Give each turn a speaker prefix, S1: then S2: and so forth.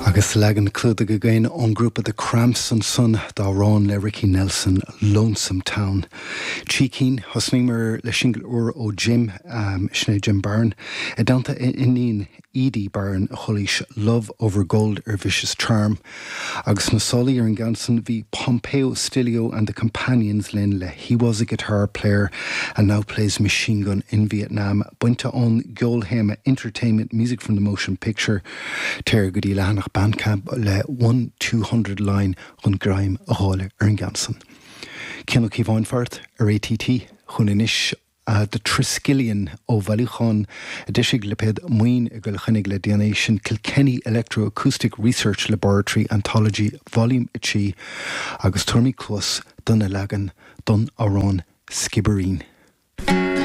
S1: Agus leagan clúdaigh againn ón ngrúpa The Cramps ansan d'amhrán le Ricky Nelson, Lonesome Town. Trí cinn, thosnaíomar le singil úr ó Jim, sin é Jim Barron, i dteannta a iníon Edie Barron a chualaís Love Over Gold ar Vicious Charm. Agus sna sálaí ar an gceann san bhí Pompeo Stilio and the Companions linn le He Was a Guitar Player and Now Plays Machine Gun in Vietnam, bainte ón gceolthéama Entertainment Music from the Motion Picture. Téir go dtí leathanach Bandcamp le 1200 line chun greim a fháil ar an gceann san. Cian Ó Cíobháin fart ar ATT chugainn anois. The Triskelion ó bhailiúchán a d'eisigh lipéad Maoin i gCill Chainnigh le déanaí, sin Kilkenny Electroacoustic Research Laboratory Anthology Volume 3 agus tabharfaimid cluas dona leagan don amhrán Skibbereen.